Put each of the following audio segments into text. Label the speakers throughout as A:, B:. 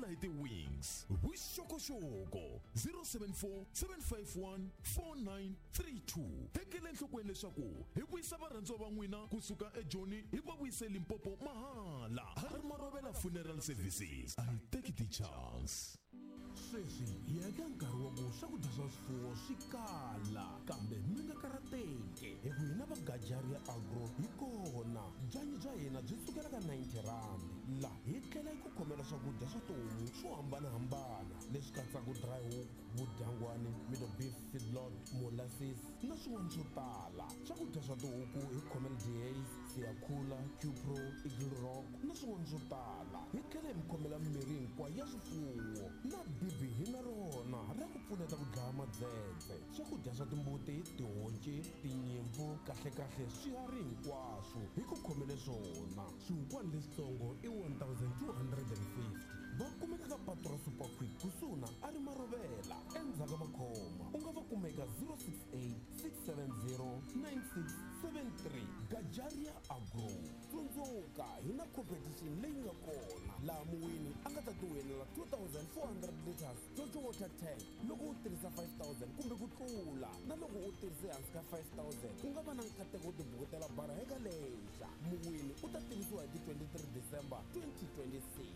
A: hi ti-wings. Vuxokoxoko 074 751 4932. Tekela enhlokweni leswaku hi vuyisa varhandziwa va n'wina kusuka eJoni hi va vuyise Limpopo mahala. Har Marovela Funeral Services. A hi teki ti-chance.
B: Sweswi hi ya eka nkarhi wa ku swakudya swa swifuwo swi kala, kambe mi nga karhateki hi ku hina va Gajaria Agro hi kona. Byanyi bya hina byi sukela ka 90 rand. La hi tlhela hi ku khomela swakudya swa tihomu swo hambanahambana leswi katsaka dry hook, vudyangwani, middle beef feedlot, molasses na swin'wana swo tala. Swakudya swa tihuku hi khomela Dehaze, Siyakhula, Qpro, Eagle Rock na swin'wana swo tala. Hi tlhela hi mi khomela mimirhi hinkwayo ya swifuwo na bibi hi na rona ra ku pfuneta ku dlaya madzedze. Swakudya swa timbuti, tihonci, tinyimpfu, kahlekahle swiharhi hinkwaswo hi ku khomele swona. Swihukwani leswitsongo i 1250. Va kumeka ka patu ra Super Quick kusuhi na a ri Marovela endzhaku ka Makhoma. U nga va kuma eka 068 670 9673. Gajaria Agro. Tsundzuka hi na competition leyi nga kona laha muwini a nga ta tiwinela 2400 liters Jojo water tank loko u tirhisa 5000 kumbe ku tlula, na loko u tirhise hansi ka 5000 u nga va na nkateko wo tibukutela bara eka lexa. Muwini u ta tivisiwa hi ti 23 December 2026.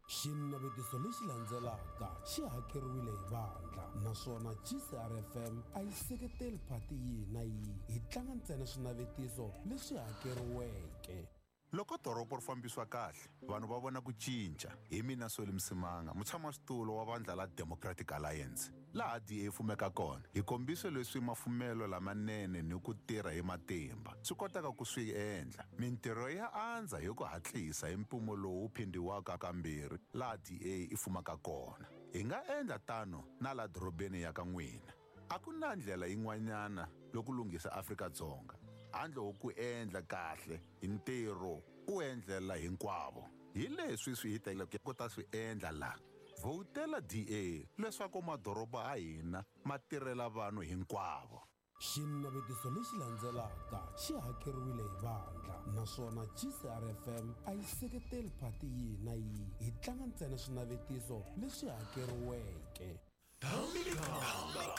B: Xinavetiso lexi landzelaka xi hakeriwile hi vandla, naswona GCRFM a yi seketeli phati yihi na yihi. Hi tlanga ntsena swinavetiso leswi hakeriweke.
C: Loko dorobo ri fambisiwa kahle, vanhu va vona ku cinca. Hi mina Solly Msimanga, mutshamaxitulu wa vandla la Democratic Alliance. Laha DA fumeka kona, hi kombise leswi mafumelo lamanene ni ku tirha hi matimba swi kotaka ku swi endla. Mintirho ya andza hi ku hatlisa hi mpimo lowu phindhiwaka kambirhi laha DA i fumaka kona. Hi nga endla tano na la dorobeni ya ka n'wina. A ku na ndlela yin'wanyana loko lunghisa Afrika-Dzonga handle ko ku endla kahle hi ntirho u endlela hinkwavo. Hi leswi swi hi teleke ku ta swi endla la. Vhotela DA leswaku madoroba a hina ma tirhela vanhu hinkwavo.
B: Xinavetiso lexi landzelaka xi hakeriwile hi vandla, naswona GCRFM a yi seketeli phati yihi na yihi. Hi tlanga ntsena swinavetiso leswi hakeriweke.
A: Thamikanga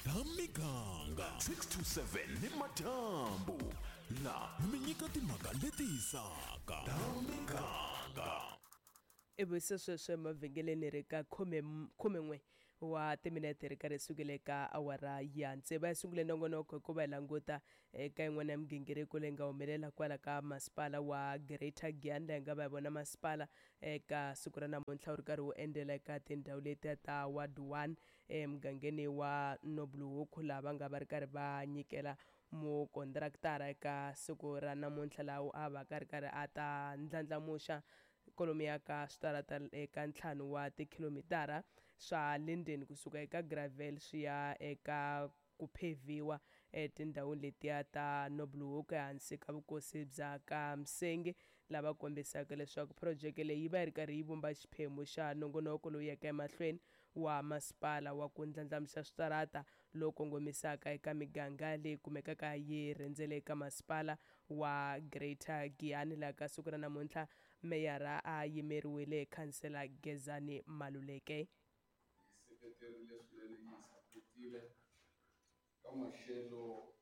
A: Thamikanga 6 to 7 ni madyambu la mi nyika timhaka leti hisaka. Thamikanga.
D: Ivi se sweswo emavhengeleni ri ka 11 wa timinete ri karhi sukile ka awara ya tsevu. A sungule nongonoko hikuva hi languta eka yin'wana ya migingiriko leyi nga humelela kwala ka masipala wa Greater Giyani, laha hi nga va hi vona masipala eka siku ra namuntlha wu ri karhi wu endzela eka tindhawu letiya ta ward 1 emugangeni wa Nobluhoek, laha va nga va ri karhi va nyikela mukontraktara eka siku ra namuntlha laha a va ka ri karhi a ta ndlandlamuxa kwalomuya ka switarata eka 5 wa tikhilomitara swa Linden kusuka eka gravel swi ya eka ku pheviwa etindhawini letiya ta Nobluhoek ehansi ka vukosi bya ka Msenge, lava kombisaka leswaku phurojeke leyi yi va yi ri karhi yi vumba xiphemu xa nongonoko lowu yaka emahlweni wa masipala wa ku ndlandlamuxa switarata lowu kongomisaka eka miganga leyi kumekaka yi rhendzele eka masipala wa Greater Giyani. Laha ka siku ra namuntlha meyara a yimeriwile hi khansela Gezani Maluleke.
E: Yi seketerile swinene, yi sapotile ka maxelo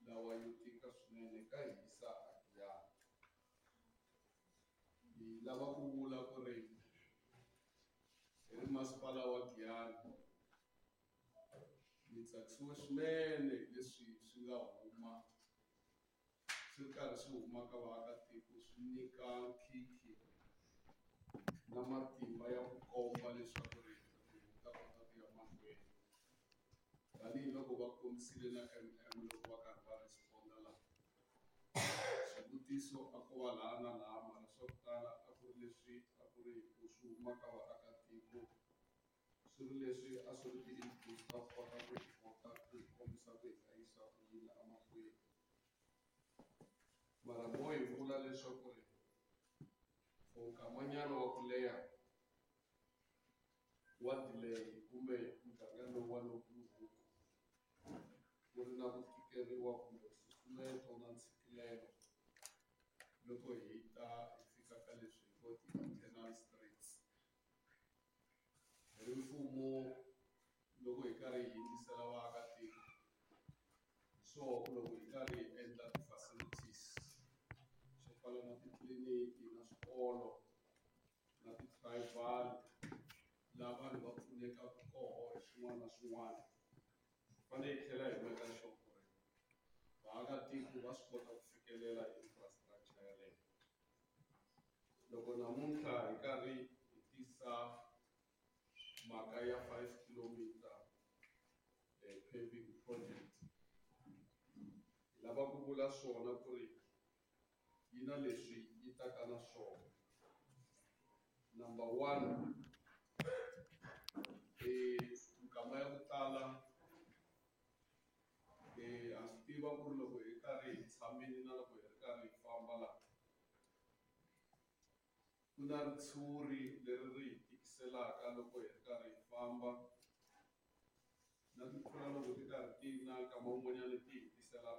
E: lawa yo tika swinene ka hisa a Giyani. Hi lava ku vula ku ri hi ri masipala wa Giyani ni tsakisiwe swinene hi leswi swi nga huma swi ri karhi swi huma ka vaakatiko, swi nyika nkhinkhi na matimba ya ku komba leswaku ri ta kota ku ya mahlweni, tanihiloko va kombisile na MM loko va karhi va responda laha. Swivutiso a ko va laha na laha, mara swa ku tala a ku ri leswi a ku ri ku swi huma ka vaakatiko, swi ri leswi a swi ri ti-inputs ta ku kota ku hi kota ku hi kombisa ku hi nga yisa ku yini emahlweni. Mara mo hi vula leswaku ri for nkamanyana wa ku leha wa delay kumbe muganga lowu wa Nobluhoek wu ri na ku tikeriwa kumbe nsusumeto na ntshikelelo loko hi ta hi fika ka leswi hi ngo ti-internal streets. mfumo loko hi karhi hi yingisela vaakatiko hi swoho ku loko hi karhi hi endla ti-facilities swo fana na titliliniki na swikolo na ti-tribal laha vanhu va pfunekaka koho hi swin'wana na swin'wana hi fanele hi tlhela hi meka sure ku ri vaakatiko va swi kota ku fikelela infrastructure yaleyo. Loko namuntlha hi karhi hi tisa mhaka ya 5 kilometer paving project hi lava ku vula swona ku ri yi na leswi yi taka na swona. Number 1, minkama ya ku tala ha swi tiva ku ri loko hi karhi hi tshamile na loko hi ri karhi hi famba laha ku na ritshuri leri ri hi tikiselaka loko hi ri karhi hi famba na timpfula loko ti karhi ti na nkama wun'wanyana ti hi tisela.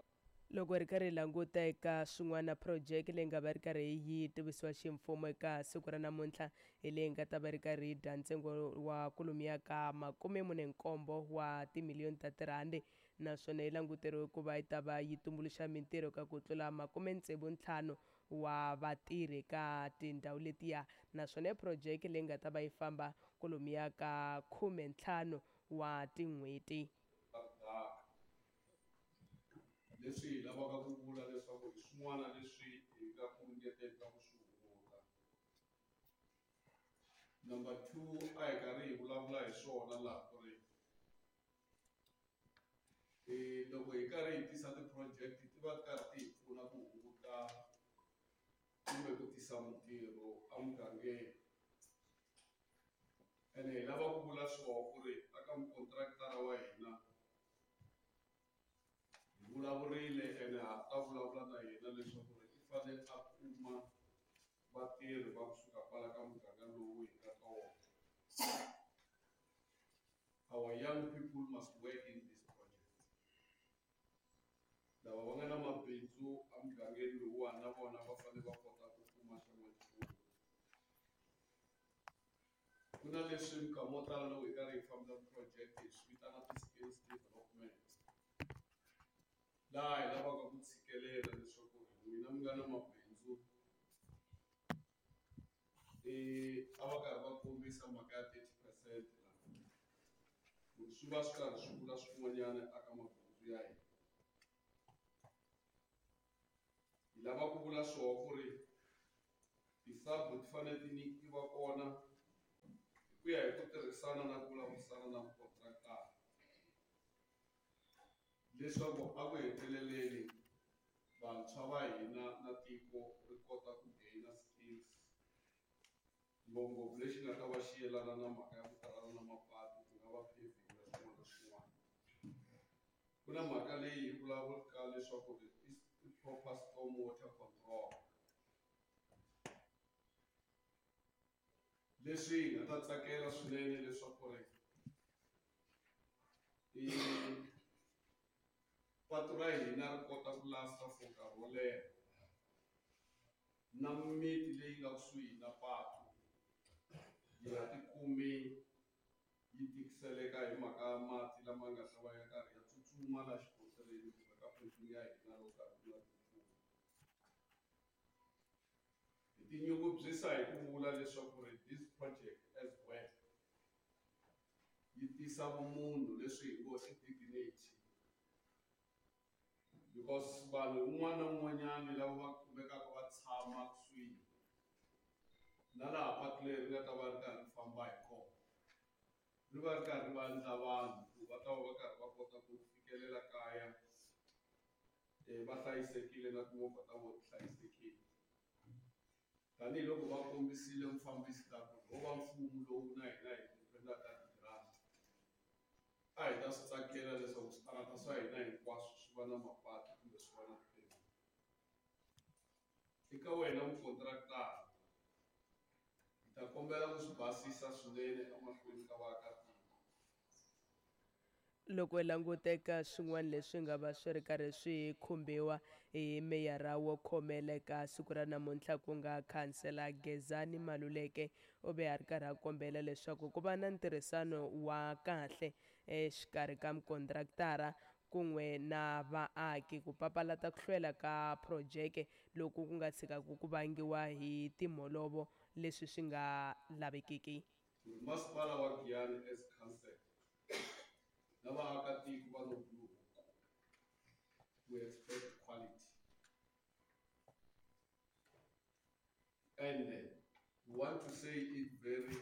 D: Loko ri karhi hi languta eka swin'wana project leyi nga va ri karhi yi tivisiwa ximfumo eka siku ra namuntlha hi leyi nga ta va ri karhi yi dya ntsengo wa kwalomuya ka 47 wa timiliyoni ta tirhandi naswona yi languteriwe ku va yi ta va yi tumbuluxa mintirho ka ku tlula 65 wa vatirhi ka tindhawu letiya naswona i project leyi nga ta va yi famba kwalomuya ka 15 wa tin'hweti.
E: Leswi hi lavaka ku vula leswaku hi swin'wana leswi hi nga ku ringeteni ka ku swi hunguta. Number 2, a hi karhi hi vulavula hi swona laha ku ri loko hi karhi hi tisa ti-project ti va ti karhi ti hi pfuna ku hunguta kumbe ku tisa mintirho emugangeni. Ene hi lava ku vula swona ku ri aka mukontraktara wa hina hi vulavurile ene ha ta vulavula na yena leswaku ri i fanele a kuma vatirhi va kusuka kwala ka muganga lowu hi nga ka wona. Our young people must work in this project. Lava va nga na mabindzu emugangeni lowuwani na vona va fanele va kota ku kuma xan'wanchumu. Ku na leswi minkama yo tala loko hi karhi hi fambisa project hi swi vitana ti-skills development. Laha hi lavaka ku tshikelela leswaku n'wina mi nga na mabindzu a va karhi va kombisa mhaka ya 30% laha ku swi va swi karhi swi vula swin'wanyana aka mabindzu ya hina. Hi lava ku vula swona ku ri ti-sub ti fanele ti nyikiwa kona hi ku ya hi ku tirhisana na ku vulavurisana na mukontraktara leswaku a ku heteleleni vantshwa va hina na tiko ri kota ku gain-a skills ngopfungopfu lexi nga ta va xi yelana na mhaka ya ku tirhana na mapatu ku nga va paving na swin'wana na swin'wana. Ku na mhaka leyi hi vulavulaka leswaku i proper storm water control. Leswi hi nga ta tsakela swinene leswaku ri patu ra hina ri kota ku lasta for nkarhi wo leha na miti leyi nga kusuhi na patu yi nga tikumi yi tikiseleka hi mhaka ya mati lama nga ta va ya karhi ya tsutsuma laha xikontirini kumbe ka paving ya hina loko karhi ku na timpfula. Hi tinyungubyisa hi ku vula leswaku ri this project as well yi tisa vumunhu leswi hi ngo i dignity because vanhu un'wana na un'wanyana lava va kumekaka va tshama kusuhi na laha patu leri nga ta va ri karhi ri famba hi kona ri va ri karhi va endla vanhu ku va ta va va karhi va kota ku fikelela kaya va hlayisekile na timovha ta vona ti hlayisekile. Tanihiloko va kombisile mufambisi ta ku ho va mfumo lowu na hina hi dependaka hi grant a hi ta swi tsakela leswaku switarata swa hina hinkwaswo swi va na mapatu kumbe swi va na ti-paving. Eka wena mukontraktara hi ta kombela ku swi basisa swinene emahlweni ka vaakatiko.
D: Loko hi languta eka swin'wana leswi nga va swi ri karhi swi khumbiwa hi meyara wo khomela eka siku ra namuntlha ku nga khansela Gezani Maluleke u ve a ri karhi a kombela leswaku ku va na ntirhisano wa kahle exikarhi ka mukontraktara kun'we na vaaki ku papalata ku hlwela ka phurojeke loku ku nga tshikaka ku vangiwa hi timholovo leswi swi nga lavekiki.
E: Masipala wa Giyani as council na vaakatiko va Nobuloku, we expect quality and we want to say it very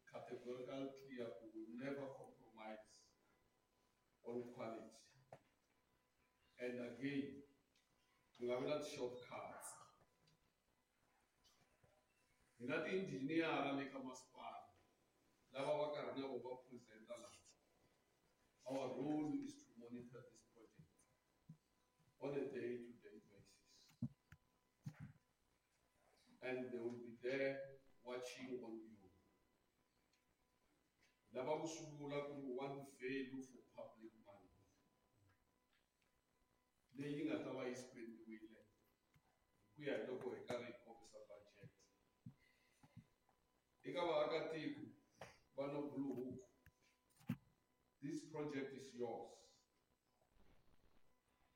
E: categorical clear, we will never compromise on quality. And again, ku nga vi na ti-shortcuts. Hi na ti-engineer le ka masipala lava va karhi na vo va presenta laha. Our role is to monitor this project on a day-to-day basis. And they will be there watching on you. Lava ku swi vula ku ri want value for public money leyi nga ta va yi spendiwile hi ku ya hi loko hi karhi hi kombisa budget. Eka vaakatiko va Nobuloku, this project is yours.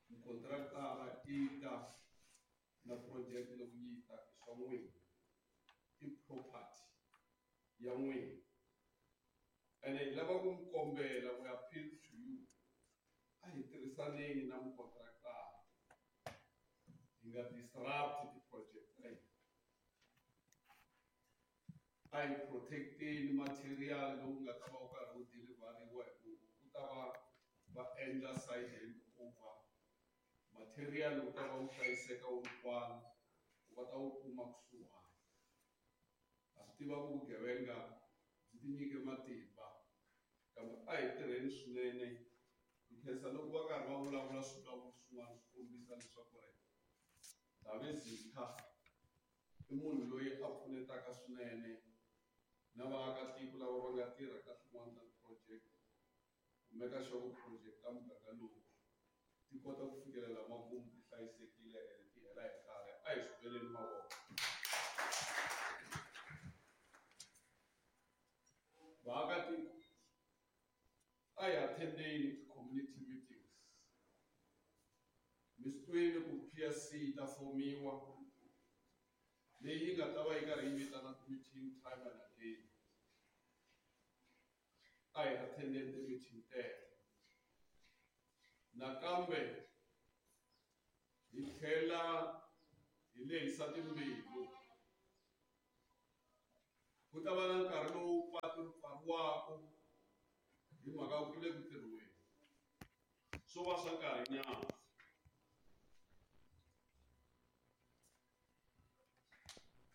E: Mukontraktara i ta na project loko yi ta i swa n'wina, i property ya n'wina. Ene hi lava ku mi kombela, we appeal to you, a hi tirhisaneni na mukontraktara, hi nga disrupt ti-project ta hina. A hi protecteni material lowu nga ta va wu karhi wu deliveriwa hi ku ku ta va va endla side hand over. Material wu ta va wu hlayiseka wu ri kwala, va ta wu kuma kusuhani. Ha swi tiva ku vugevenga byi tinyike matimba, kambe a hi tirheni swinene. Hi khensa loko va karhi va vulavula swivulavulo swin'wana swi kombisa leswaku ri Ndabezitha i munhu loyi a pfunetaka swinene na vaakatiko lava va nga tirha ka tin'wana ta ti-project ku make sure ku project ta muganga lowu ti kota ku fikelela makumu ti hlayisekile ene ti hela hi nkarhi. A hi swi beleni mavoko. Vaakatiko, a hi attendeni ti-community meetings. Mi swi twile ku P_S_C yi ta fomiwa leyi yi nga ta va yi karhi yi vitana ti-meeting time and again. A hi attendeni ti-meeting teto. Nakambe hi tlhela hi lehisa timbilu. Ku ta va na nkarhi lowu patu ri pfariwaka hi mhaka ku le ku tirhiweni, swo va swa nkarhinyana.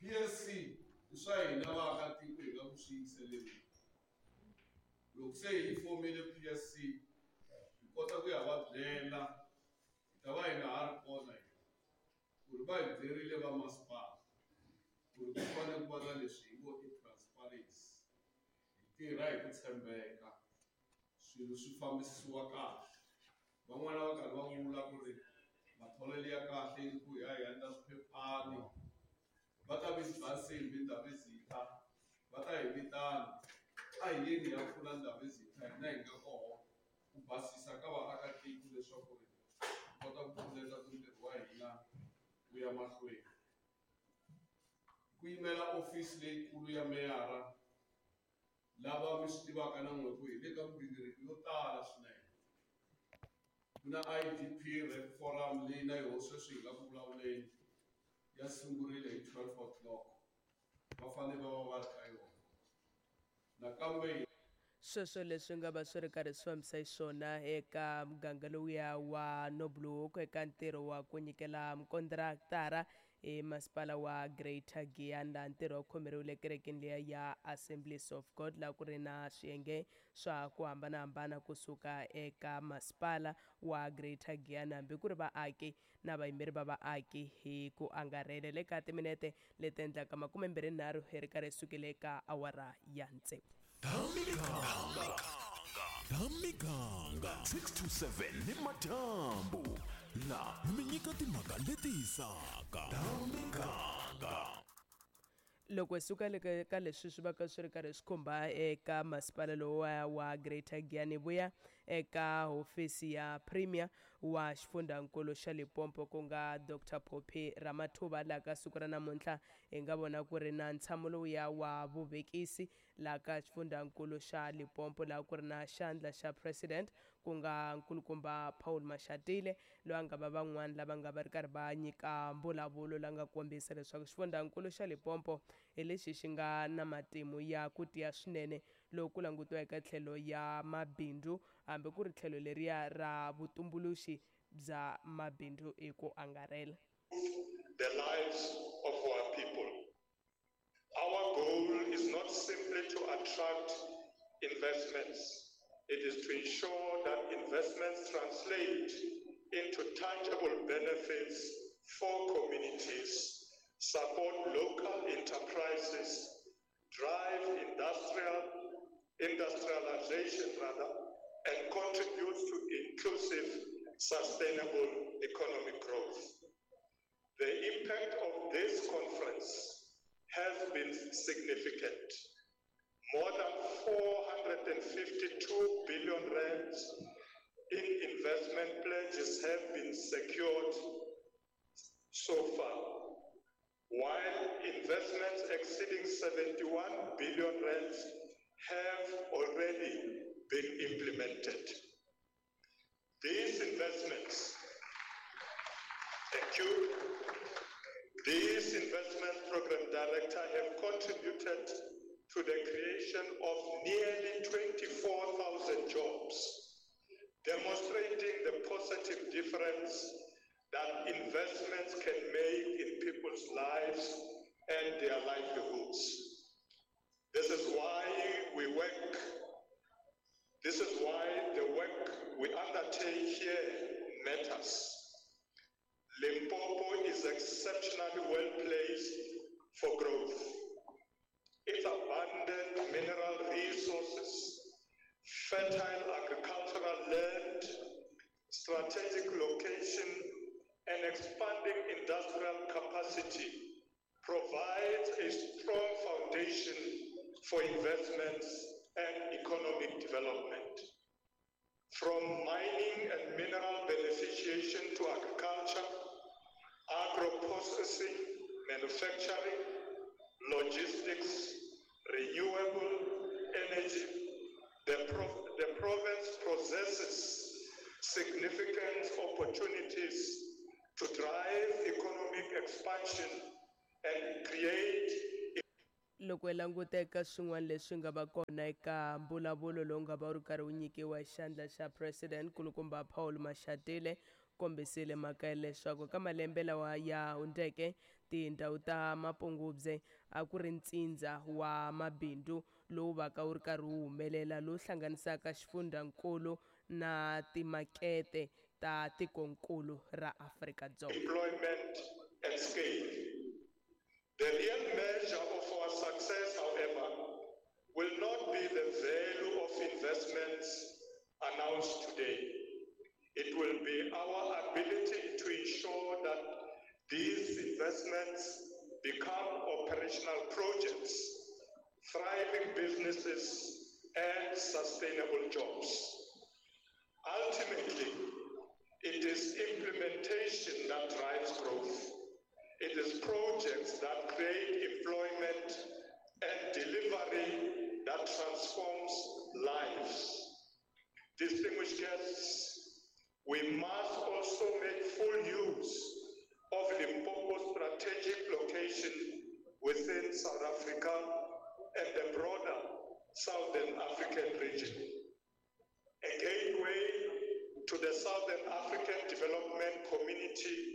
E: P_S_C i swa hina vaakatiko hi nga ku swi yingiseleni. Loko se hi fomile P_S_C hi kota ku ya va byela, hi ta va hi nga ha ri kona hina ku ri va hi byerile va masipala ku ri ku fanele ku va na leswi hi ngo i transparency, hi tirha hi ku tshembeka, swilo swi fambisiwa kahle. Van'wana va karhi va vula ku ri matholelo ya kahle i ku ya hi endla swiphephani, va ta vi ba nsimbi Ndabezitha, va ta hi vitana, a hi yeni hi ya pfuna Ndabezitha hina hi nga koho ku basisa ka vaakatiko leswaku ri hi kota ku pfuneta ku ntirho wa hina wu ya mahlweni. Ku yimela ofisi leyikulu ya meyara, lava mi swi tivaka na n'we ku hi le ka migingiriko yo tala swinene. Ku na I_D_P Rep Forum leyi na yoho sweswi hi nga ku vulavuleni ya sungurile hi 12 o'clock, va fanele va va va ri ka yona. Nakambe
D: Sweswo leswi nga va swi ri karhi swi fambisa xiswona eka muganga lowuya wa Nobuloku eka ntirho wa ku nyikela mukontraktara i masipala wa Greater Giyani, laha ntirho wu khomeriwile ekerekeni liya ya Assemblies of God, laha ku ri na swiyenge swa ku hambanahambana kusuka eka masipala wa Greater Giyani hambi ku ri vaaki na vayimeri va vaaki hi ku angarhela. Le ka timinete leti endlaka 23 hi ri karhi hi sukile eka awara ya tsevu.
A: Ta miganga 6 to 7 ni madyambu laha hi mi nyika timhaka leti hisaka ta miganga.
D: Loko hi suka le ka leswi swi va ka swi ri karhi swi khumba eka masipala lowa wa Greater Giyani, vuya eka hofisi ya Premier wa xifundzankulu xa Limpopo ku nga Dr Phophi Ramathuba, laha ka siku ra namuntlha hi nga vona ku ri na ntshamo lowuya wa vuvekisi laha ka xifundzankulu xa Limpopo, laha ku ri na xandla xa President ku nga nkulukumba Paul Mashatile, loyi a nga va van'wani lava nga va ri karhi va nyika mbulavulo la nga kombisa leswaku xifundzankulu xa Limpopo hi lexi xi nga na matimu ya ku tiya swinene loko ku langutiwa eka tlhelo ya mabindzu, hambi ku ri tlhelo leriya ra vutumbuluxi bya mabindzu hi ku angarhela.
F: The lives of our people. Our goal is not simply to attract investments. It is to ensure that investments translate into tangible benefits for communities, support local enterprises, drive industrialization rather, and contribute to inclusive, sustainable economic growth. The impact of this conference has been significant. More than 452 billion rands in investment pledges have been secured so far, while investments exceeding 71 billion rands have already been implemented. These investments, thank you. These investment program director have contributed to the creation of nearly 24,000 jobs, demonstrating the positive difference that investments can make in people's lives and their livelihoods. This is why we work. This is why the work we undertake here matters. Limpopo is exceptionally well placed for growth. Its abundant mineral resources, fertile agricultural land, strategic location, and expanding industrial capacity provides a strong foundation for investments and economic development. From mining and mineral beneficiation to agriculture, agro-processing, manufacturing, logistics, renewable energy, the province possesses significant opportunities to drive economic expansion and create.
D: Loko hi languta eka swin'wana leswi nga va kona eka mbulavulo lowu nga va wu ri karhi wu nyikiwa xandla xa President kulukumba Paul Mashatile, kombisile mhaka ya leswaku ka malembe lawa ya hundzeke tindhawu ta Mapungubwe a ku ri ntsindza wa mabindzu lowu vaka wu ri karhi wu humelela, lowu hlanganisaka xifundzankulu na timakete ta tikonkulu ra Afrika-Dzonga.
F: Employment and scale. The real measure of our success, however, will not be the value of investments announced today. It will be our ability to ensure that these investments become operational projects, thriving businesses, and sustainable jobs. Ultimately, it is implementation that drives growth. It is projects that create employment and delivery that transforms lives. Distinguished guests, we must also make full use of Limpopo's strategic location within South Africa and the broader Southern African region. A gateway to the Southern African Development Community,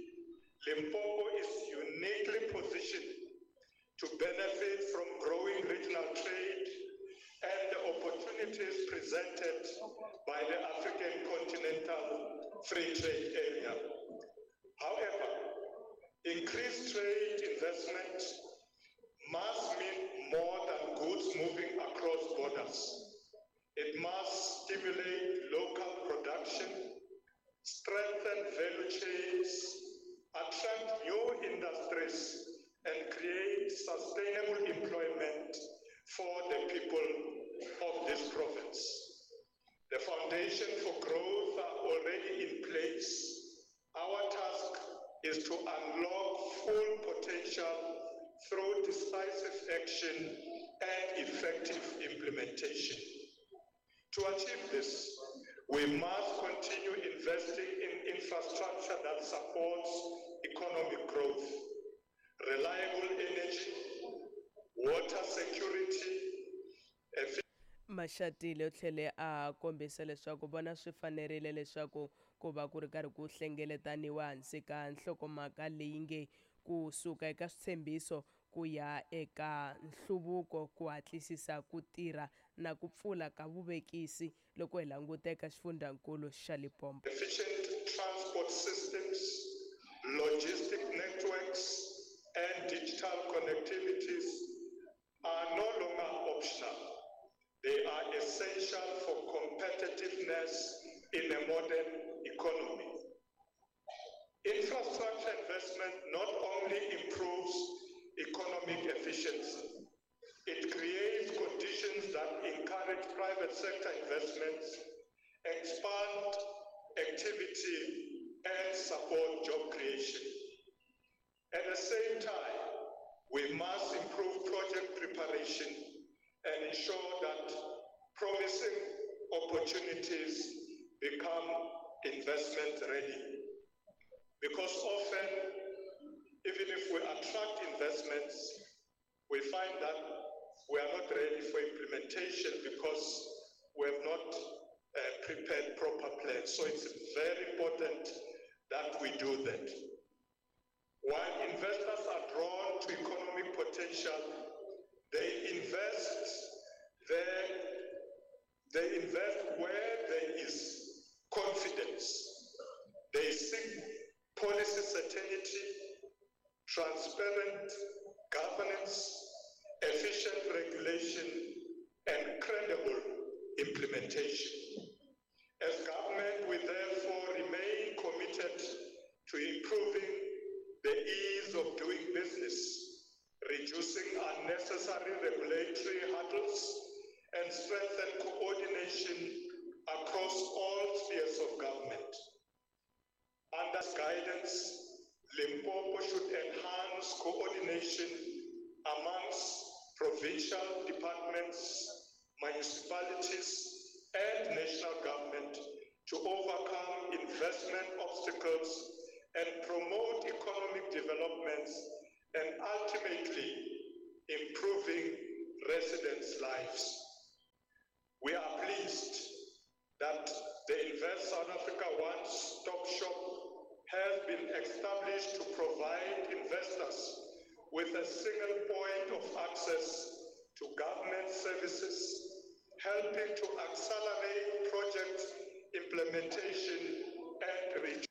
F: Limpopo is uniquely positioned to benefit from growing regional trade and the opportunities presented by the African Continental Free Trade Area. However, increased trade investment must mean more than goods moving across borders. It It must stimulate local production, strengthen value chains, attract new industries, and create sustainable employment for the people of this province. The foundation for growth are already in place. Our task is to unlock full potential through decisive action and effective implementation. To achieve this, we must continue investing in infrastructure that supports economic growth, reliable energy, water security,
D: Mashatile u tlhele a kombisa leswaku vona swi fanerile leswaku ku va ku ri karhi ku hlengeletaniwa hansi ka nhlokomhaka leyi nge ku suka eka switshembiso ku ya eka nhluvuko ku hatlisisa ku tirha na ku pfula ka vuvekisi loko hi languta eka xifundzankulu xa Limpopo.
F: Efficient transport systems, logistic networks, and digital connectivities are no longer optional. They are essential for competitiveness in a modern economy. Infrastructure investment not only improves economic efficiency, it creates conditions that encourage private sector investments, expand activity, and support job creation. At the same time, we must improve project preparation and ensure that promising opportunities become investment ready. Because often, even if we attract investments, we find that we are not ready for implementation because we have not prepared proper plans. So it's very important that we do that. While investors are drawn to economic potential, they invest there, they invest where there is confidence. They seek policy certainty, transparent governance, efficient regulation, and credible implementation. As government, we therefore remain committed to improving the ease of doing business, reducing unnecessary regulatory hurdles, and strengthen coordination across all spheres of government. Under guidance, Limpopo should enhance coordination amongst provincial departments, municipalities, and national government to overcome investment obstacles and promote economic developments and ultimately improving residents' lives. We are pleased that the Invest South Africa One-Stop Shop has been established to provide investors with a single point of access to government services, helping to accelerate project implementation and reach.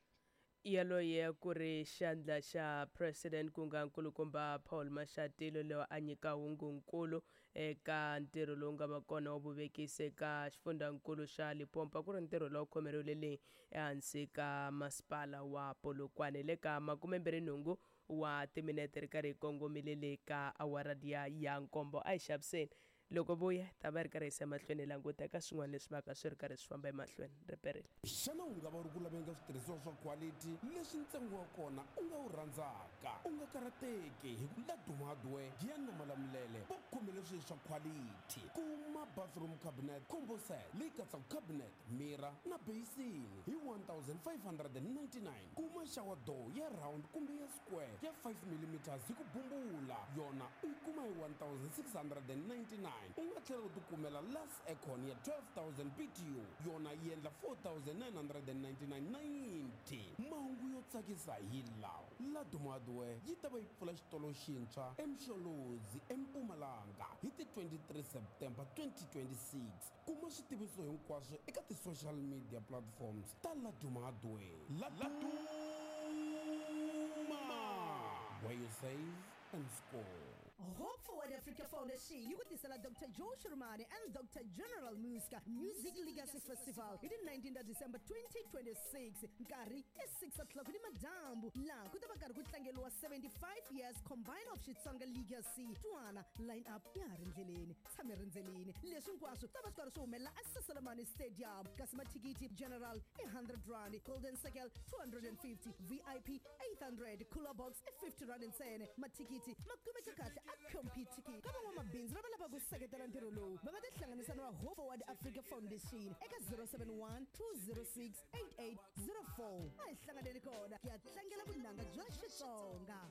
D: Yaloye ku ri xandla xa president ku nga nkulukumba Paul Mashatile loyi a nyika hungunkulu eka ntirho lowu nga va kona wa vuvekisi eka xifundzankulu xa Limpopo ku ri ntirho lowu khomeriwile leyi ehansi ka masipala wa Polokwane le ka 28 wa timinete ri karhi hi kongomile le ka awara ya 7 a hi xaviseni loko vuya ta va ri karhi yisa emahlweni languta eka swin'wana leswi vaka swi ri karhi swi famba emahlweni riperile.
B: Xana u nga va ri ku laveni ka switirhisiwa swa quality leswi ntsengo wa kona u nga wu rhandzaka? U nga karhateki hi ku Laduma Hardware Giyani na Malamulele va khomele swilo swa quality. Kuma bathroom cabinet combo set leyi katsaka cabinet, mirror na basin hi 1599. Kuma shower door ya round kumbe ya square ya 5 mm hi ku bumbula, yona u yi kuma hi 1699. U nga tlhela u tikumela last aircon ya 12000 BTU, yona yi endla 4999.90. Mahungu yo tsakisa hi lawa: Laduma Hardware yi ta va yi pfula xitolo xintshwa eMsholozi eMpumalanga hi ti 23 September 2026. Kuma switiviso hinkwaswo eka ti-social media platforms ta Laduma Hardware. Laduma, where you save and score.
G: Hope Forward Africa Foundation yi ku tisela Dr Joe Shirimani and Dr General Muska Music Legacy Festival hi ti 19 ta December 2026, nkarhi i 6 o'clock ni madyambu, laha ku ta va karhi ku tlangeriwa 75 years combine of Xitsonga Legacy. Twana line up ya ha ri ndleleni, tshame rindzelini. Leswi hinkwaswo ta va swi karhi swi humelela eCecil Stadium, kasi mathikithi general i 100 rand, golden circle 250, VIP 800, cooler box i 50 rand ntsena. Mathikithi ma kumeka kahle a Computicket. Ka van'wamabindzu lava lavaka ku seketela ntirho lowu, va nga tihlanganisa na va Hope Forward Africa Foundation eka 071 206 8804. A hi hlanganeni kona ku ya tlangela vunanga bya Xitsonga.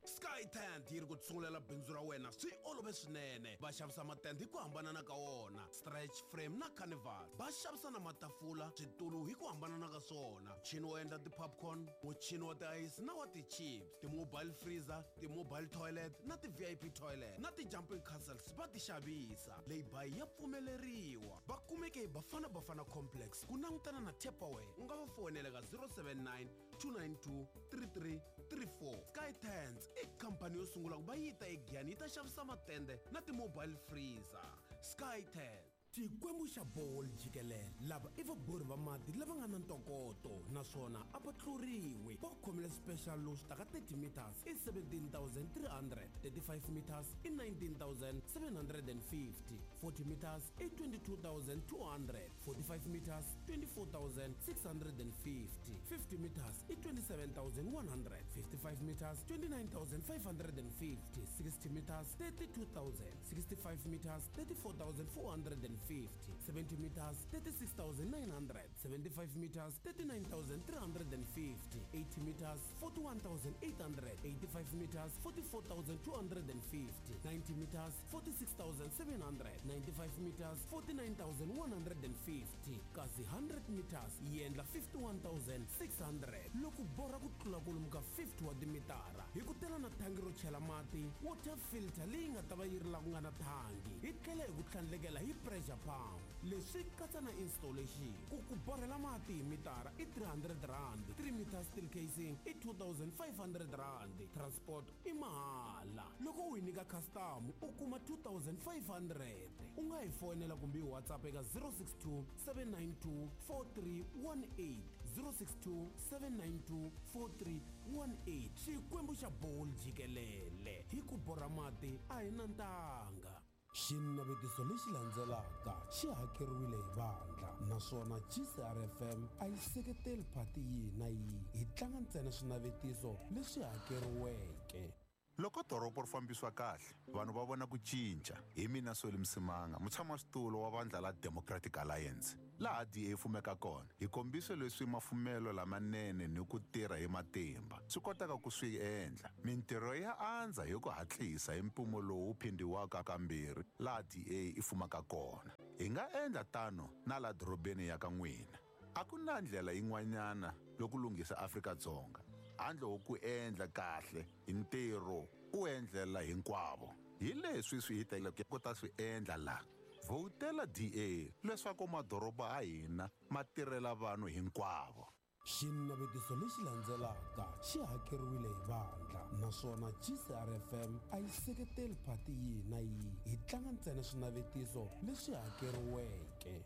B: Sky Tent yi ri ku tsungulela bindzu ra wena swi olove swinene. Va xavisa matende hi ku hambanana ka wona, stretch frame na carnival. Va xavisa na matafula, switulu hi ku hambanana ka swona, muchini wo endla ti-popcorn, muchini wa ti-ice na wa ti-chips, ti-mobile freezer, ti-mobile toilet na ti-VIP toilet na ti-jumping castles va ti xavisa. Lay-by ya pfumeleriwa. Va kumeke hi Bafana Bafana Complex ku langutana na Tupperware. U nga va foyinela ka 079 292 3334. Sky Tents i khampani yo sungula ku va yi ta eGiyani yi ta xavisa matende na ti-mobile freezer. Sky Tent. Xikwembu xa Borehole jikelele, lava i vabori va mati lava nga na ntokoto naswona a va tluriwi. Va khomile special lowu swi taka 30 meters i 17,300, 35 meters i 19,750, 40 meters i 22,200, 45 meters 24,650, 50 meters i 27,100, 55 meters 29,550, 60 meters 32,000, 65 meters 34,450, 70 meters 36,900, 75 meters 39,350, 80 meters 41,800, 85 meters 44,250, 90 meters 46,700, 95 meters 49,150, kasi 100 meters yi endla 51,600. Loko borha ku tlula kwalomu ka 50 wa timitara, hi ku tela na thangi ro chela mati, water filter leyi nga ta va yi ri la ku nga na thangi, hi tlhela hi ku tlhandlekela hi pressure pump. Leswi katsa na installation. Ku ku borhela mati hi mitara i 300 rand, 3 meter steel casing i 2500 rand, transport i mahala. Loko u hi nyika custom u kuma 2500. U nga hi foyinela kumbe hi WhatsApp eka 062 792 4318, 062 792 4318. Xikwembu xa Borehole jikelele, hi ku borha mati a hi na ntanga. Xinavetiso lexi landzelaka xi hakeriwile hi vandla naswona GCRFM a yi seketeli phati yihi na yihi. Hi tlanga ntsena swinavetiso leswi hakeriweke.
C: Loko doroba ri fambisiwa kahle, vanhu va vona ku cinca. Hi mina Solly Msimanga, mutshamaxitulu wa vandla la Democratic Alliance. Laha DA fumeka kona, hi kombise leswi mafumelo lamanene ni ku tirha hi matimba swi kotaka ku swi endla. Mintirho ya andza hi ku hatlisa hi mpimo lowu phindhiwaka kambirhi laha DA yi fumaka kona. Hi nga endla tano na la dorobeni ya ka n'wina. A ku na ndlela yin'wanyana yo ku lunghisa Afrika-Dzonga handle ko ku endla kahle hi ntirho u endlela hinkwavo. Hi leswi swi hi teleke ku ta swi endla laha. Vhotela DA leswaku madoroba ya hina ma tirhela vanhu hinkwavo.
B: Xinavetiso lexi landzelaka xi hakeriwile hi vandla naswona GCRFM a yi seketeli phati yihi na yihi. Hi tlanga ntsena swinavetiso leswi hakeriweke.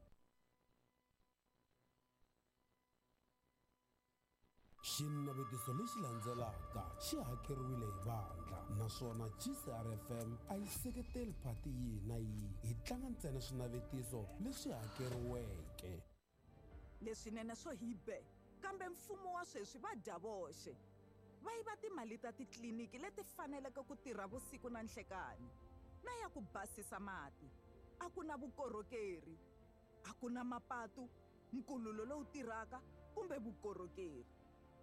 B: Xinavetiso lexi landzelaka xi hakeriwile hi vandla naswona GCRFM a yi seketeli phati yihi na yihi. Hi tlanga ntsena swinavetiso leswi hakeriweke.
H: Leswinene swo hi be, kambe mfumo wa sweswi va dya voxe, va yiva timali ta titliliniki leti faneleke ku tirha vusiku na nhlekani na ya ku basisa mati. A ku na vukorhokeri, a ku na mapatu, nkululo lowu tirhaka kumbe vukorhokeri.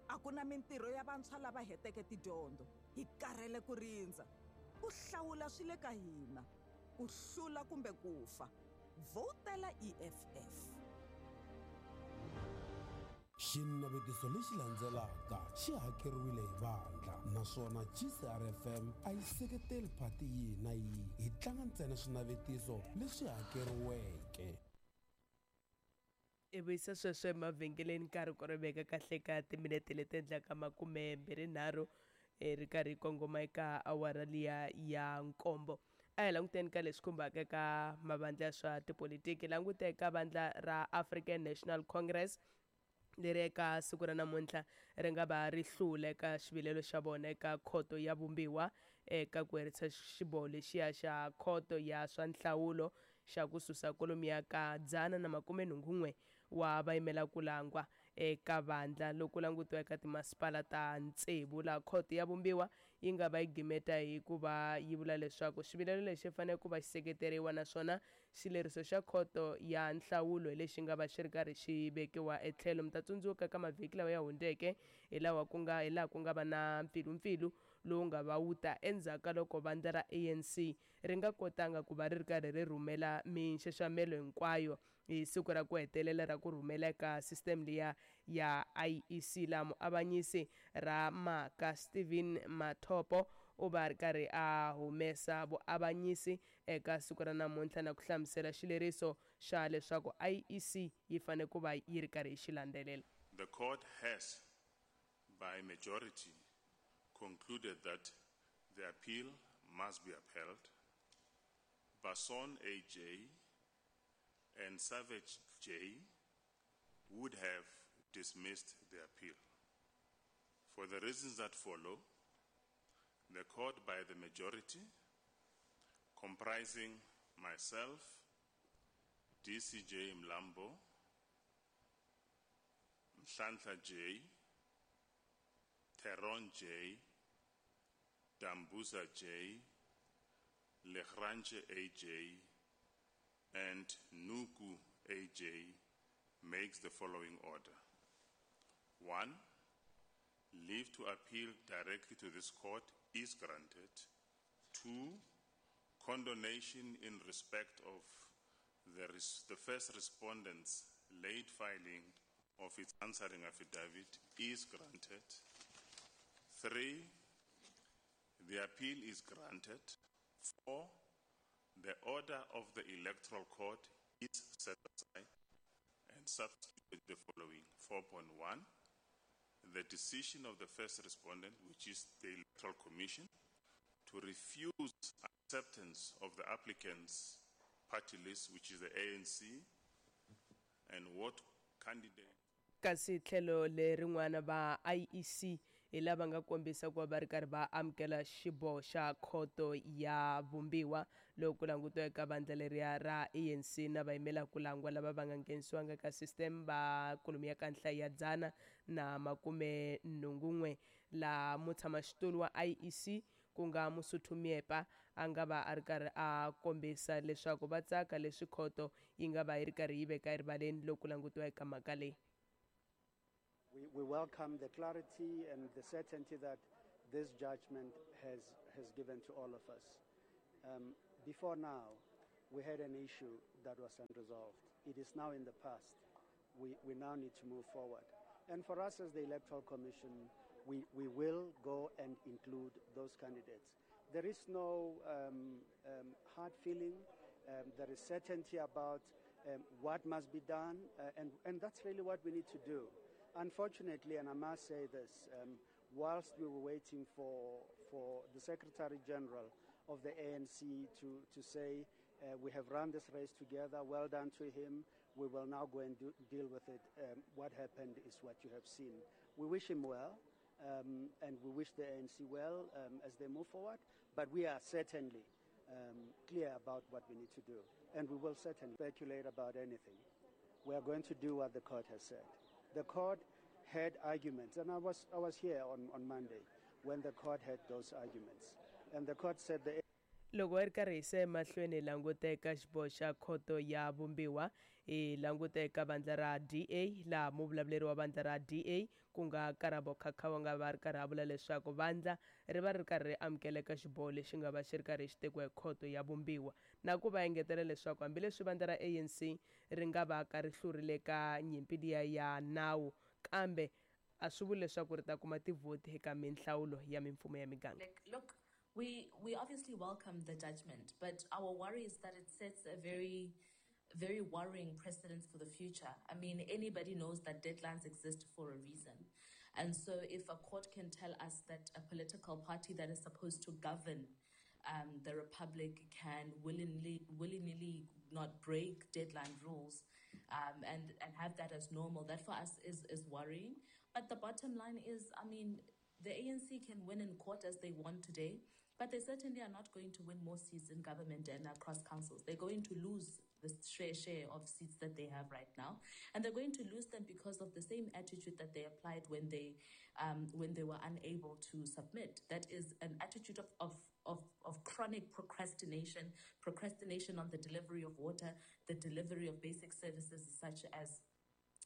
H: A ku na mintirho ya vantshwa lava heteke tidyondzo. Hi karhele ku rindza. Ku hlawula swi le ka hina, ku hlula kumbe ku fa. Vhotela EFF.
B: Xinavetiso lexi landzelaka xi hakeriwile hi vandla naswona GCRFM a yi seketeli phati yihi na yihi. Hi tlanga ntsena swinavetiso leswi hakeriweke.
D: I vuyisa sweswo emavhengeleni, nkarhi ku ri veka kahle ka timinete leti endlaka 23. Ri karhi kongoma eka awara liya ya nkombo. A hi languteni ka leswi khumbaka eka mavandla ya swa tipolitiki. Languta eka vandla ra African National Congress leri eka siku ra namuntlha ri nga va ri hlula eka xivilelo xa vona eka khoto ya vumbiwa eka ku herisa xiboho lexiya xa khoto ya swa nhlawulo xa ku susa kwalomuya ka 181 wa vayimela ku langwa eka vandla loko langutiwa eka timasipala ta tsevu, laha khoto ya vumbiwa yi nga va yi gimeta hi ku va yi vula leswaku xivilelo lexi fanele ku va xi seketeriwa, naswona xileriso xa khoto ya nhlawulo hi lexi nga va xi ri karhi xi vekiwa etlhelo. Mi ta tsundzuka ka mavhiki lawa ya hundzeke hi laha ku nga va na mpfilumpfilu lowu nga va wu ta endzhaku ka loko vandla ra ANC ri nga kotanga ku va ri ri karhi ri rhumela minxaxamelo hinkwayo hi siku ra ku hetelela ra ku rhumela eka system liya ya IEC. Laha muavanyisi ra maka Steven Mathopo u va ri karhi a humesa vuavanyisi eka siku ra namuntlha na ku hlamusela xileriso xa leswaku IEC yi fanele ku va yi ri karhi yi xi landzelela.
I: The court has, by majority, concluded that the appeal must be upheld. Basson AJ and Savage J would have dismissed the appeal. For the reasons that follow, the court by the majority, comprising myself, DCJ Mlambo, Mhlantla J, Theron J, Dambuza J, Legrange AJ, and Nuku AJ, makes the following order. 1, leave to appeal directly to this court is granted. 2, condonation in respect of the first respondent's late filing of its answering affidavit is granted. 3, the appeal is granted. 4, the order of the Electoral Court is set aside and substituted the following. 4.1, the decision of the first respondent, which is the Electoral Commission, to refuse acceptance of the applicant's party list, which is the ANC, and what candidate.
D: Kasi tlhelo lerin'wana va IEC hi lava nga kombisa ku va ri karhi va amukela xiboho xa khoto ya vumbiwa loko ku langutiwa eka vandla leriya ra ANC na vayimela ku langwa lava va nga nghenisiwanga ka system va kolomiya ka nhlayo ya 181, laha mutshamaxitulu wa IEC ku nga Mosotho Miepa a nga va a ri karhi a kombisa leswaku va tsaka leswi khoto yi nga va yi ri karhi yi veka erivaleni loko ku langutiwa eka mhaka leyi.
J: We welcome the clarity and the certainty that this judgment has given to all of us. Before now, we had an issue that was unresolved. It is now in the past. We now need to move forward. And for us as the Electoral Commission, we will go and include those candidates. There is no hard feeling. There is certainty about what must be done, and that's really what we need to do. Unfortunately, and I must say this, whilst we were waiting for the Secretary General of the ANC to say, we have run this race together, well done to him, we will now go and deal with it. What happened is what you have seen. We wish him well, and we wish the ANC well as they move forward, but we are certainly clear about what we need to do, and we will certainly speculate about anything. We are going to do what the court has said. The court had arguments, and I was here on Monday when the court had those arguments, and the court said the
D: Loko ri karhi hi se emahlweni languta eka xiboho xa khoto ya vumbiwa, hi languta eka vandla ra DA, laha muvulavuleri wa vandla ra DA ku nga Karabo Khakhau nga va ri karhi a vula leswaku vandla ri va ri karhi ri amukela eka xiboho lexi nga va xi ri karhi xi tekiwa hi khoto ya vumbiwa, na ku va engetela leswaku hambileswi vandla ra ANC ri nga va ka ri hlurile ka nyimpi liya ya nawu, kambe a swi vuli leswaku ri ta kuma tivhoti eka minhlawulo ya mimfumo ya miganga.
K: Look, we obviously welcome the judgment, but our worry is that it sets a very, very worrying precedent for the future. I mean, anybody knows that deadlines exist for a reason. And so if a court can tell us that a political party that is supposed to govern the republic can willingly, willingly not break deadline rules and, and have that as normal, that for us is, is worrying. But the bottom line is, I mean, the ANC can win in court as they want today, but they certainly are not going to win more seats in government and across councils. They're going to lose the share, share of seats that they have right now, and they're going to lose them because of the same attitude that they applied when they when they were unable to submit. That is an attitude of, of, of, of chronic procrastination, procrastination on the delivery of water, the delivery of basic services such as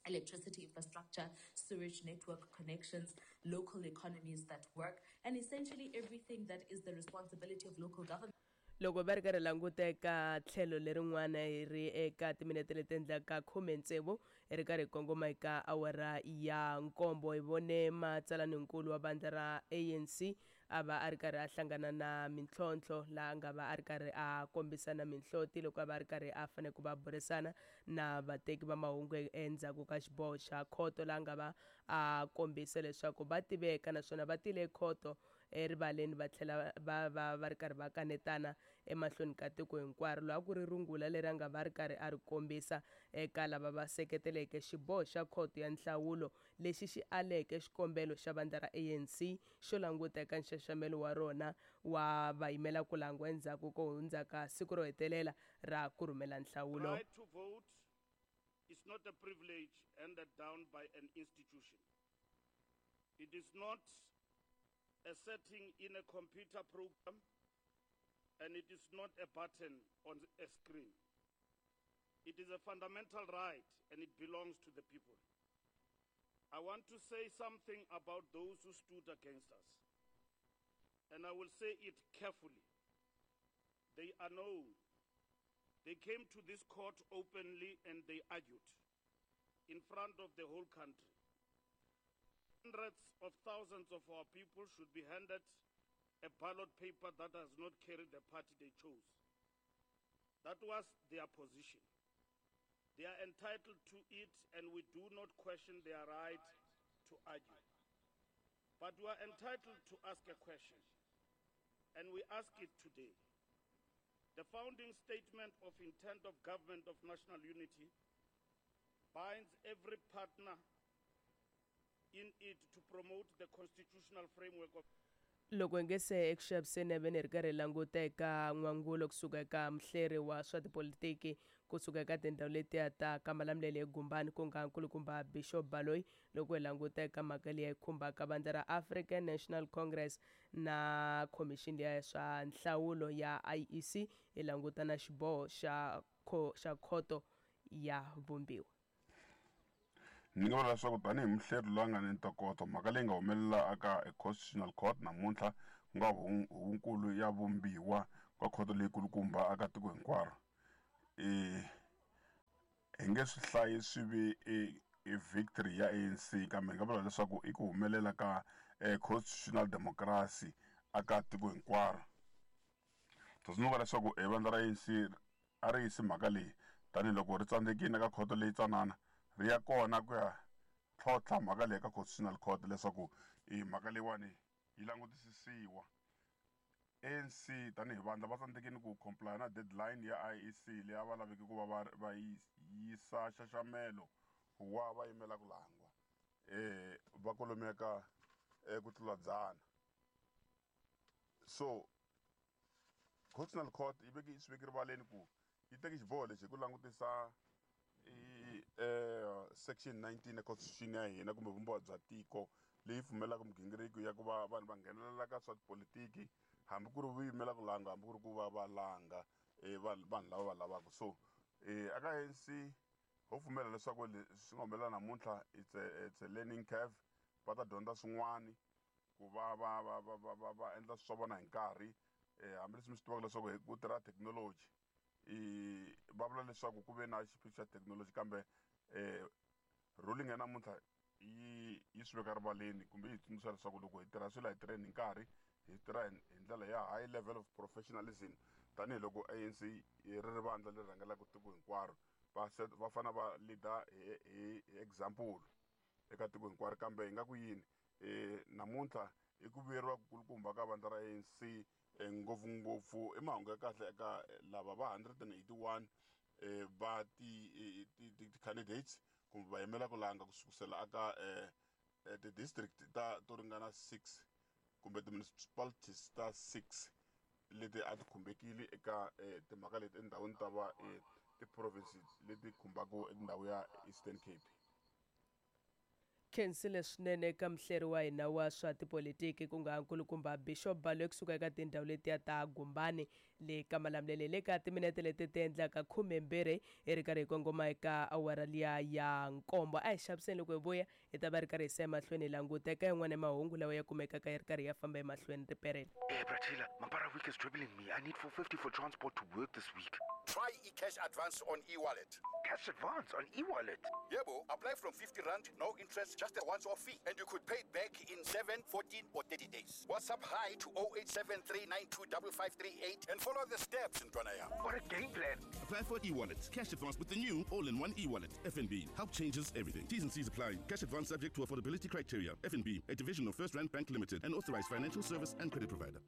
K: electricity infrastructure, sewage network connections, local economies that work, and essentially everything that is the responsibility of local government.
D: Loko va ri karhi languta eka tlhelo lerin'wana hi ri eka timinete leti endlaka 16 hi ri karhi hi kongoma eka awara ya nkombo, hi vone matsalaninkulu wa vandla ra ANC a va a ri karhi a hlangana na mintlhontlho, laha a nga va a ri karhi a kombisana minhloti loko a va a ri karhi a fanele ku va burisana na vateki va mahungu endzhaku ka xiboho xa khoto, laha a nga va a kombisa leswaku va tiveka naswona va tile khoto erivaleni va tlhela va va va ri karhi va kanetana emahlweni ka tiko hinkwaro. Loyi a ku ri rungula leri a nga va ri karhi a ri kombisa eka lava va seketeleke xiboho xa khoto ya nhlawulo lexi xi aleke xikombelo xa vandla ra ANC xo languta eka nxaxamelo wa rona wa vayimela ku langwa endzhaku ko hundza ka siku ro hetelela ra ku rhumela nhlawulo.
L: Right to vote is not a privilege handed down by an institution. It is not a setting in a computer program, and it is not a button on a screen. It is a fundamental right, and it belongs to the people. I want to say something about those who stood against us, and I will say it carefully. They are known. They came to this court openly and they argued in front of the whole country. Hundreds of thousands of our people should be handed a ballot paper that does not carry the party they chose. That was their position. They are entitled to it, and we do not question their right to argue. But we are entitled to ask a question, and we ask it today. The founding statement of intent of Government of National Unity binds every partner in it to promote the constitutional framework of
D: Loko hi nge se eku xaviseni ve ni ri karhi hi languta eka n'wangulo kusuka eka muhleri wa swa tipolitiki kusuka eka tindhawu letiya ta ka Malamulele eGumbani, ku nga nkulukumba Bishop Baloyi, loko hi languta eka mhaka leyi khumbaka vandla ra African National Congress na khomixini liya ya swa nhlawulo ya IEC, hi languta na xiboho xa xa khoto ya vumbiwa.
M: Ni nga vula leswaku tanihi muhleri loyi a nga ni ntokoto, mhaka leyi nga humelela eka Constitutional Court namuntlha, ku nga huvonkulu ya vumbiwa ka khoto leyi kulukumba aka tiko hinkwaro, i hi nge swi hlayi swi vi i i victory ya ANC, kambe hi nga vula leswaku i ku humelela ka constitutional democracy aka tiko hinkwaro. Tsundzuka leswaku e vandla ra ANC a ri yisi mhaka leyi tanihiloko ri tsandzekile eka khoto leyi tsanana, ri ya kona ku ya tlhontlha mhaka leyi ka Constitutional Court leswaku e mhaka leyiwani yi langutisisiwa. ANC tanihi vandla va tsandzekile ku comply na deadline ya IEC leyi a va laveke ku va va va yisa nxaxamelo wa va yimela ku langwa va kwalomuya ka ku tlula 100. So Constitutional Court yi veke swi veke rivaleni ku yi teke xiboho lexi hi ku langutisa i section 19 ya constitution ya hina kumbe vumbiwa bya tiko, leyi pfumelelaka migingiriko ya ku va vanhu va nghenelela ka swa tipolitiki, hambi ku ri vuyimela ku langa, hambi ku ri ku va va langa vanhu vanhu lava va lavaka. So aka ANC ho pfumela leswaku leswi nga humelela namuntlha it's a learning curve. Va ta dyondza swin'wani ku va va va va va va va endla swa vona hi nkarhi, hambileswi mi swi tivaka leswaku hi ku tirha thekinoloji. I va vula leswaku ku ve na xiphiqo xa thekinoloji, kambe ruling ya namuntlha yi yi swi veka rivaleni kumbe yi hi tsundzuxa leswaku loko hi tirha swilo, hi tirheni hi nkarhi, hi tirha hi ndlela ya high level of professionalism, tanihiloko ANC ri ri vandla leri rhangelaka tiko hinkwaro, va va fanele va leader hi hi example. eka tiko hinkwaro kambe hi nga ku yini namuntlha i ku vuyeriwa kukulukumba ka vandla ra ANC ngopfungopfu i mahungu ya kahle eka lava va 181 va ti-candidates kumbe va yimela ku langa ku sukusela aka ti-district ta to ringana 6 kumbe ti-municipalities ta 6 leti a ti khumbekile eka timhaka leti etindhawini ta va ti-province leti khumbaka ndhawu ya Eastern Cape.
D: Khensile swinene eka muhleri wa hina wa swa tipolitiki ku nga nkulukumba Bishop Baloyi kusuka eka tindhawu letiya ta Gumbani le ka Malamulele le ka timinete leti ti endlaka 12 hi ri karhi hi kongoma eka awara liya ya nkombo. A hi xaviseni loko hi vuya hi ta va ri karhi hi se emahlweni hi languta eka yin'wana ya mahungu lawa ya kumekaka yi ri karhi ya famba emahlweni riperele.
N: Hey, Bratila, Mampara week is dribbling me. I need 450 for transport to work this week.
O: Try eCash Advance on eWallet.
N: Cash Advance on eWallet?
O: Yebo, apply from 50 Rand, no interest, just a once-off fee. And you could pay it back in 7, 14 or 30 days. WhatsApp hi to 0873925538 and follow the steps, Ntwanaya.
N: What a game plan.
I: Apply for eWallet. Cash Advance with the new all-in-one eWallet. FNB. Help changes everything. T's and C's apply. Cash Advance subject to affordability criteria. FNB, a division of First Rand Bank Limited, an authorized financial service and credit provider.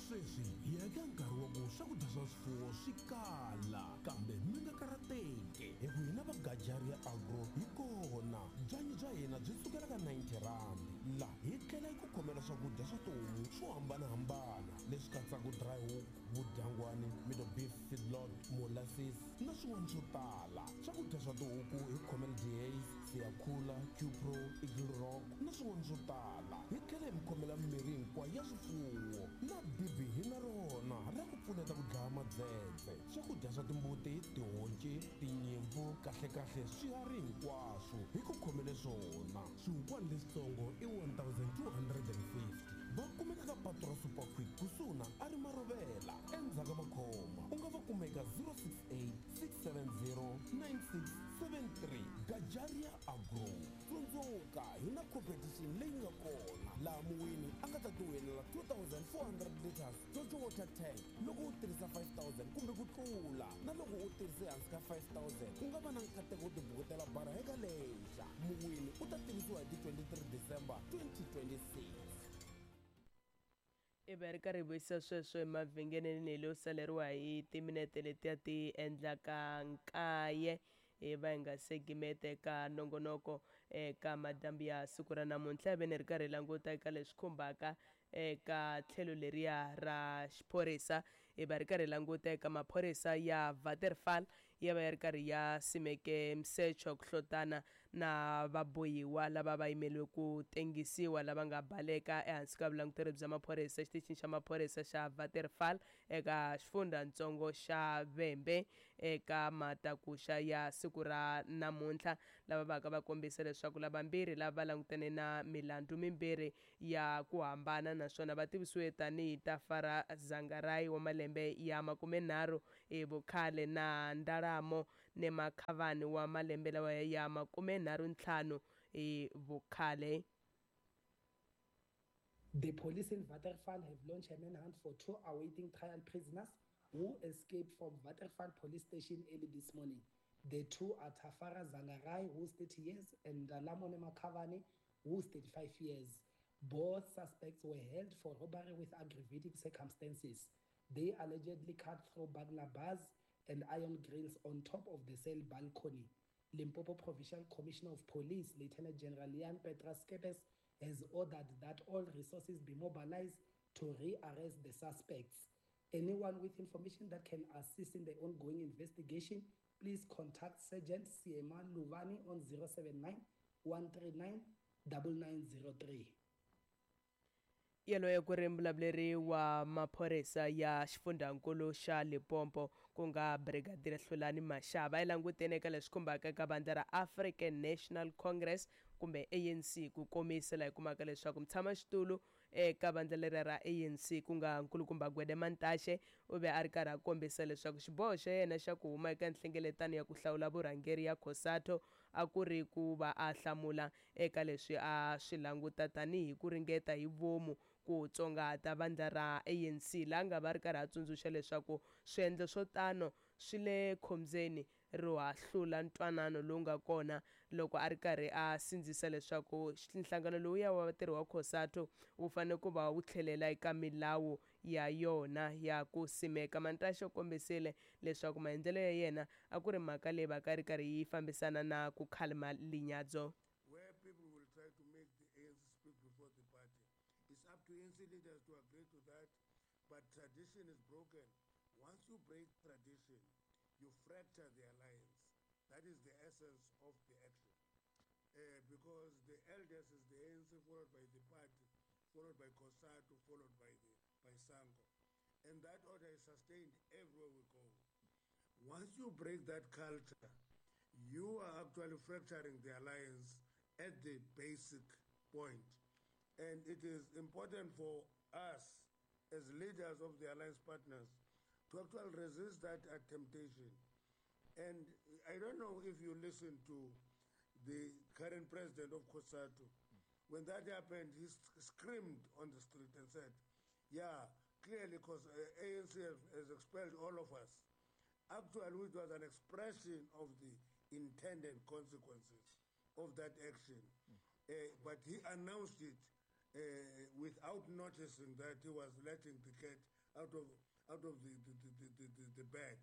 B: Sweswi hi ya eka nkarhi wa ku swakudya swa swifuwo swi kala kambe mi nga karhateki hi ku hina va Gajaria Agro hi kona byanyi bya hina byi sukela ka 90 rand la hi tlhela hi ku khomela swakudya swa tihomu swo hambanahambana leswi katsaka dry hook vudyangwani middle beef feedlot molasses na swin'wana swo tala swakudya swa tihuku hi khomela Dehaze Siyakhula Qpro Eagle Rock na swin'wana swo tala hi tlhela hi mi khomela mimirhi hinkwayo ya swifuwo na dibi hi na rona ra ku pfuneta ku dlaya madzedze swakudya swa timbuti tihonci tinyimpfu kahlekahle swiharhi hinkwaswo hi ku khomele swona swihukwani leswitsongo i 1250 va kumeka ka patu ra Super Quick kusuhi na a ri Marovela endzhaku ka makhoma u nga va kumeka 068 670 9673 Gajaria Agro tsundzuka hi na competition leyi nga kona laha muwini a nga ta tiwinela 2400 liters Jojo water tank loko u tirhisa 5000 kumbe ku tlula na loko u tirhise hansi ka 5000 u nga va na nkateko wo tibukutela bara eka lexa muwini u ta tivisiwa hi ti 23 December 2026.
D: I va ri karhi hi vuyisa sweswo emavhengeleni leyo saleriwa hi timinete letiya ti endlaka nkaye hi va hi nga se gimeta eka nongonoko eka madyambu ya siku ra namuntlha hi ve ni ri karhi hi languta eka leswi khumbaka eka tlhelo leriya ra xiphorisa hi va ri karhi hi languta eka maphorisa ya Waterfall ya va ya ri karhi ya simeke misecho ku hlotana na vabohiwa lava va yimeliwe ku tengisiwa lava nga baleka ehansi ka vulanguteri bya maphorisa exitichini xa maphorisa xa Waterfall eka xifundzhantsongo xa Vhembe eka matakuxa ya siku ra namuntlha lava vaka va kombisa leswaku lavambirhi lava va langutane na milandzu mimbirhi ya ku hambana naswona va tivisiwe tanihi Tafara Zangarai wa malembe ya 30 hi vukhale na Ndalamo Nemakhavani wa malembe lawa ya 35 hi vukhale.
P: The police in Waterfall have launched a manhunt for two awaiting trial prisoners who escaped from Waterfall police station early this morning. The two are Tafara Zangarai, who is 30 years, and Ndalamo Nemakhavani, who is 35 years. Both suspects were held for robbery with aggravating circumstances. They allegedly cut through burglar bars and iron grills on top of the cell balcony. Limpopo Provincial Commissioner of Police, Lieutenant General Jan Petrus Kepes, has ordered that all resources be mobilized to re-arrest the suspects. Anyone with information that can assist in the ongoing investigation, please contact Sergeant Siema Luvani on 079 139 9903.
D: Yaloye ku ri mbulavuleri wa maphorisa ya xifundzankulu xa Limpopo ku nga Brigadier Hlulani Mashaba yi langutene eka leswi khumbaka ka vandla ra African National Congress kumbe ANC ku komisa laha hi kumaka leswaku mutshamaxitulu eka vandla leri ra ANC ku nga nkulukumba Gwede Mantashe u ve a ri karhi a kombisa leswaku xiboho xa yena xa ku huma eka nhlengeletano ya ku hlawula vurhangeri ya COSATU a ku ri ku va a hlamula eka leswi a swi languta tanihi ku ringeta hi vomu ku tsongahata vandla ra ANC laha nga va ri karhi a tsundzuxa leswaku swiendlo swo tano swi le khombyeni ro hahlula ntwanano lowu nga kona loko a ri karhi a sindzisa leswaku nhlangano lowuya wa vatirhi wa COSATU wu fanele ku va wu tlhelela eka milawu ya yona ya ku simeka. Mantashe u kombisile leswaku maendlelo ya yena a ku ri mhaka leyi va ka ri karhi yi fambisana na ku khalima linyadzo.
Q: Where people will try to make the ANC speak before the party. It's up to ANC leaders to agree to that, but tradition is broken. Once you break tradition, you fracture the alliance. That is the essence of the action. Because the eldest is the ANC, followed by the party, followed by COSATU, followed by SANCO. And that order is sustained everywhere we go. Once you break that culture, you are actually fracturing the alliance at the basic point. And it is important for us as leaders of the alliance partners to actually resist that temptation. And I don't know if you listen to the current president of COSATU. When that happened, he screamed on the street and said, yeah, clearly because ANC has expelled all of us. Actually, it was an expression of the intended consequences of that action. But he announced it without noticing that he was letting the cat out of the bag.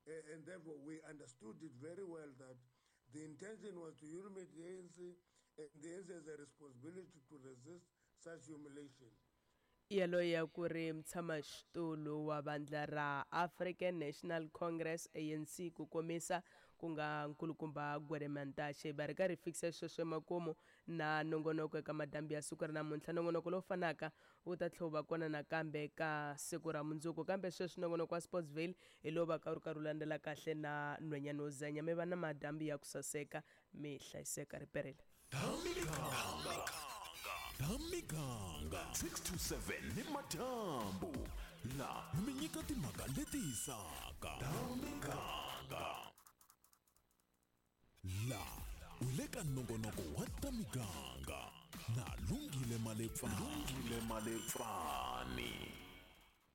Q: And therefore, we understood it very well that the intention was to humiliate the ANC, and the ANC has a responsibility to resist such humiliation.
D: Yaloye a ku ri mutshamaxitulu wa vandla ra African National Congress ANC ku komisa ku nga nkulukumba Gwede Mantashe. Va ri karhi fikisa sweswo emakumu na nongonoko eka madambi ya siku ra namuntlha. Nongonoko lowu fanaka wu ta tlhela wu va kona nakambe ka siku ra mundzuku, kambe sweswi nongonoko wa Sportsville hi lowu va ka wu ri karhi wu landzela kahle na nhwenyana wo zenya. Mi va na madambi ya ku saseka, mi hlayiseka riperile.
A: Miganga 6 to 7 ni madyambu la mi nyika timhaka leti hisaka. Miganga la u le ka nongonoko wa ta miganga na Lungile Malepfani. Lungile Malepfani.